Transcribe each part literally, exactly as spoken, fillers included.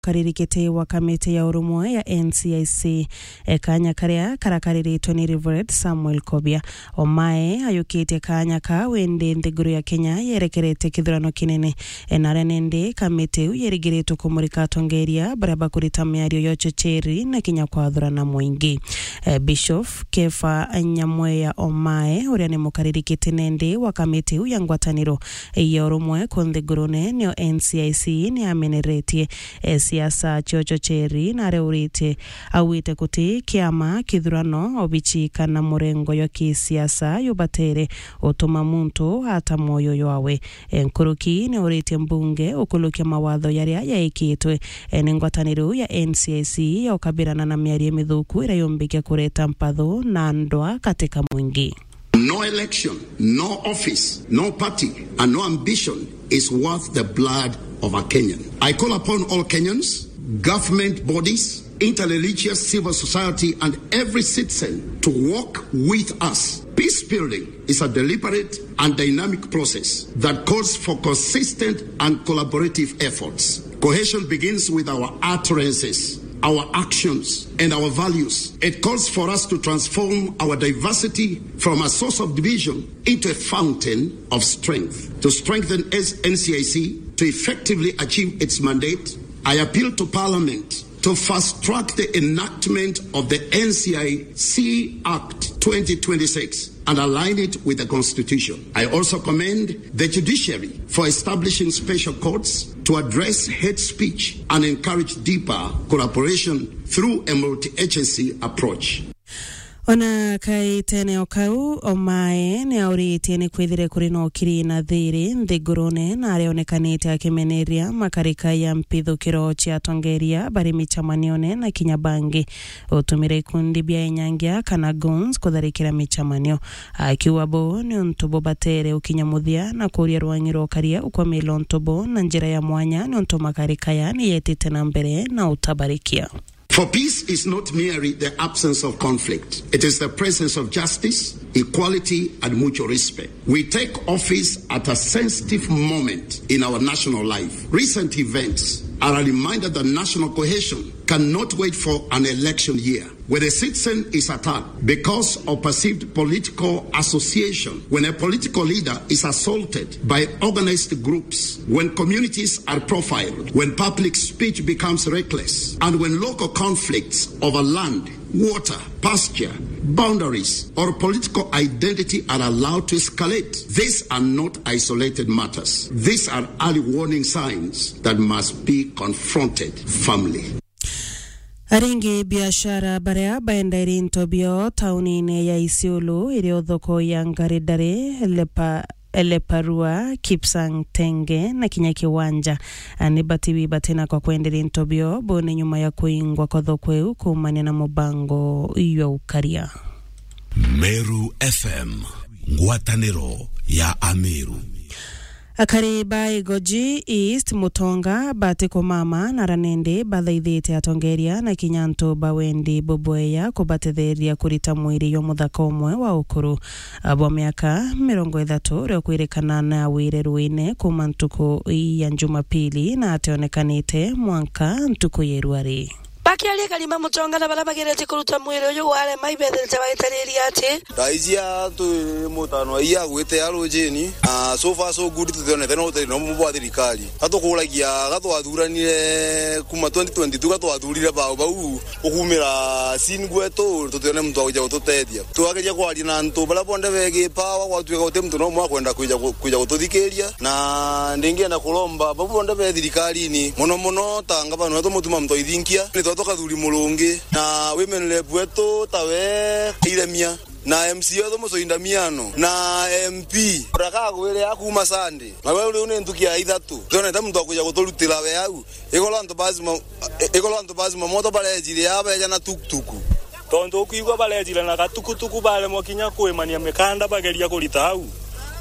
karirikite wa kamiti ya urumwe ya N C I C, e, kanya karia karakariritwe ni Reverend Samuel Kobia. Omae ayukitie kanya kau indi nthiguru ya Kenya yerekerete kithurano kinene. E, naria nindi kamiti iu yerigiritwe kumurika atongeria baria bakurita miario ya uchocheri na kinya kwathurana mwingi. E, Bishop Kefa Nyamweya Omae, uria ni mukaririkiti nindi wa kamiti iu ya ngwataniro ya urumwe ku nthigurune, nio N C I C ni ameneretie, e, siasa cia uchocheri na areuritie, augite guti kiama, kithurano, obichi kana murengo jwa kisiasa jubatere utuma muntu ata mwoyo jwawe. E, nkuruki ni uritie mbunge ukulukia mawatho jaria jaikitwe, e, ni ngwataniro ya N C I C ya ukabirana na miario mithuku iria yumbikia kureta mpatho na ndwa katika mwingi. No election, no office, no party, and no ambition is worth the blood of a Kenyan. I call upon all Kenyans, government bodies, interreligious civil society, and every citizen to work with us. Peace building is a deliberate and dynamic process that calls for consistent and collaborative efforts. Cohesion begins with our utterances, our actions, and our values. It calls for us to transform our diversity from a source of division into a fountain of strength. To strengthen N C I C to effectively achieve its mandate, I appeal to Parliament to fast track the enactment of the N C I C Act twenty twenty-six and align it with the Constitution. I also commend the judiciary for establishing special courts to address hate speech and encourage deeper collaboration through a multi-agency approach. Ona kaitene o kau, Omae ni auritie ni kwithire kuri na ukiri na thiri nthigurune, na arionekanite akimeneria makarika ya mpithukiro cia atongeria bari micemanione na kinya bangi utumire ikundi bia inyangia kana goons kutharikira micemanio, akiuga bo ni untu bubatere ukinya muthia na kuria rwangi rwa ukaria ukwamila untu bo na njira ya mwanya, ni untu makarika ya ni yetite na mbere na utabarikia. For peace is not merely the absence of conflict, it is the presence of justice, equality, and mutual respect. We take office at a sensitive moment in our national life. Recent events are a reminder that national cohesion cannot wait for an election year. When a citizen is attacked because of perceived political association, when a political leader is assaulted by organized groups, when communities are profiled, when public speech becomes reckless, and when local conflicts over land, water, pasture, boundaries, or political identity are allowed to escalate, these are not isolated matters. These are early warning signs that must be confronted firmly. Aringi biashara baria baendaira into bio taunine ya Isiolo, irio thoko ya Ngaridari, Lepa-, Leparua, Kipsang Tenge na kinya Kiwanja, ni batiwi batina kwa kwendera into bio bone nyuma ya kuingwa kwa thoko iu kuumania na mubango jwa ukaria. Meru F M, ngwataniro ya Ameru. Akari ba Igoji East Mutonga bati kumama na ranindi bathaithite atongeria na kinya antu ba wendi bubweya kubatetheria kurita mwiri jwa muthaka umwe wa ukuru bwa miaka mirongo ithatu uria ukwirikana na wire ruine kuma ntuku ya Jumapili na ationekanite mwanka ntuku ya irua ri. Bakiaria Karima Mutonga na baria bagerete kuruta mwiri uyu warema ibethirite bagitariria ati, thaa iji a twi mutano ai agwite a rujini, na so far so good, tutionete na utethio no bwa thirikari. Gatukuragia gatwathuranire kuma twenty twenty-two, gatwathurire bau bau ukumira sin gwetu, tutione muntu wa kuja gututethia. Twageria kwaria na antu baria bonthe begi power, gwatuika guti muntu no umwe akwenda kwija gu-, kwija gututhikiria. Na ndingienda kuromba bau bonthe be thirikarini, mono mono ta ngavana wetu Mutuma Muthoithinkia, ni twatwa Kathuri Murungi, na women rep wetu tawe Iremia, na M C A wetu Mucui Ndamiano, na M P uria kagwire a kuma Sunday. Na we riu ni ntuki ya ithatu, twonete muntu wa kwija guturutira we au. Ikorwa antu bazima, ikorwa antu bazima moto barejire aa beja na tukutuku. Tontu ukwigua barejire na gatukutuku, baremwa kinya kwimania mikanda bageria kurita au.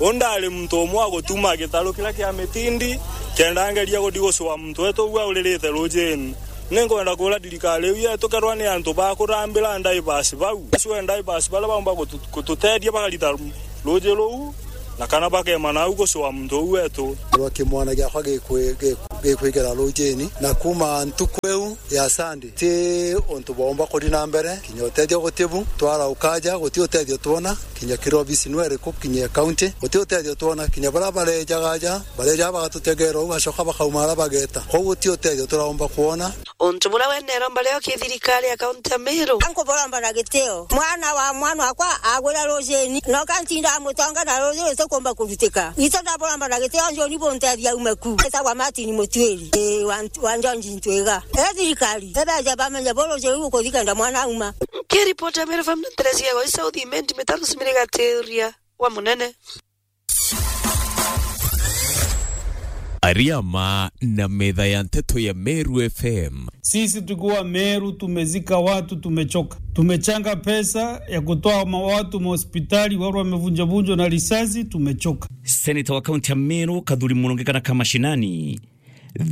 U ndari muntu umwe wa gutuma gitaru kiria kia mitindi, kenda ngeria guthi gucua muntu wetu uu auririte rujini. Ninkwenda kuria thirikari iu yetu, kerwa ni antu ba kurambira ndivers bau, acue ndivers baria baumba gutu-, gututethia bakarita ruji ruu, Na kana bakema nau gucua muntu uu wetu. Rwa kimwana giakwa gikwi-, gikwi-, gikwigera rujini, na kuma ntuku iu ya Sunday, ti untu bwaumba kuthi na mbere, kinya utethio guti bu, twarauka aja, guti utethio twona, kinya kiri obisi nwe iriku, kinya county, guti utethio twona, kinya baria barejaga aja, barejaga bagatutegera uu, bacoka bakauma aria bageta. Kwou guti utethio turaumba kwona. Untu buria we neromba rio ki thirikari ya kaunti ya Meru. Ankuburomba na gitio. Mwana wa mwana wakwa agwira rujini, noka ntinda mutonga na rujini ruti kumba kurutika. Ito ndaburomba na gitio, njoni buntethia ume ku. Etagwa Martin Mutwiri, ii, wa Nt-, wa Njonji Ntwiga. E thirikari, ebeje bamenye bu rujini rukuthi kenda mwana auma. Nkiripota Meru F M na Teresia Goi South Imenti Mitano Simiriga Tiria wa Munene. Ariama na metha ya nteto ya Meru F M. Sisi tukiwa Meru tumezika watu, tumechoka. Tumechanga pesa ya kutoa ma-, watu mahospitali, watu wamevunjavunjwa na risasi, tumechoka. Seneta wa kaunti ya Meru, Kathuri Murungi kana ka mashinani,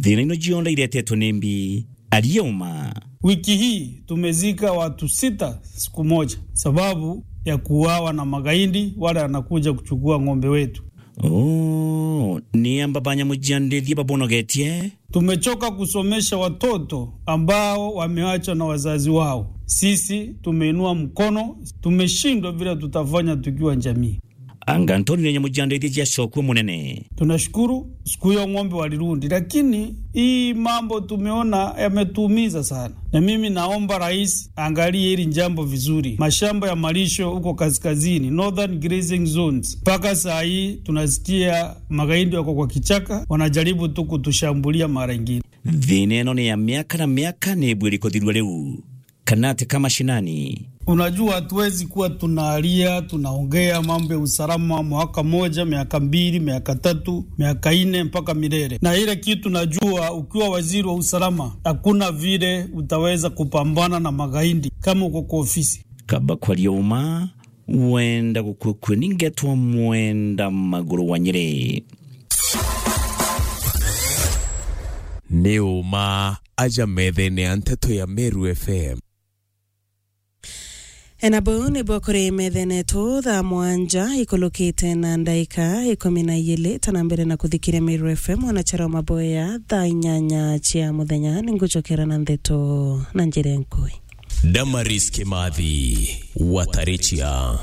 thina ino cionthe iretetwe ni mbi, ariuma. Wiki hii tumezika watu sita siku moja sababu ya kuuawa na magaidi wale wanakuja kuchukua ng'ombe wetu. Oh, ni amba ba nyamu cia ndithia babonogetie? Tumechoka kusomesha watoto ambao wameachwa na wazazi wao. Sisi tumeinua mkono, tumeshindwa vile tutafanya tukiwa jamii. Anga Antonio nyamu cia ndithia ciacokua munene. Tunashukuru siku hiyo ng'ombe walirundi, lakini hii mambo tumeona yametuumiza sana. Na mimi naomba rais aangalie hili jambo vizuri. Mashamba ya malisho huko kaskazini, northern grazing zones, mpaka saa hii tunasikia magaidi wako kwa kichaka, wanajaribu tu kutushambulia mara ingine. Thina ino ni ya miaka na miaka, ni ibwiri kuthirua riu. Kana ati ka mashinani? Unajua, hatuwezi kuwa tunalia, tunaongea mambo ya usalama mwaka moja, miaka mbili, miaka tatu, miaka nne, mpaka milele. Na ile kitu najua, ukiwa waziri wa usalama, hakuna vile utaweza kupambana na magaidi kama uko kwa ofisi. Kaba kwaria uma, wenda gukwekwe ningetwa mwenda maguru wa Nyeri. Ni uma aja methene ya nteto ya Meru F M. Ena buu nibwo kuri methene tu thaa mwanja ikulukite na ndaika ikumi na ijiri. Tana mbere na kuthikiria Meru F M, mwanachara wa maboya thaa inyanya cia muthenya, ningucokera na ndeto na njira nkui. Damaris Kimathi, Watarichia.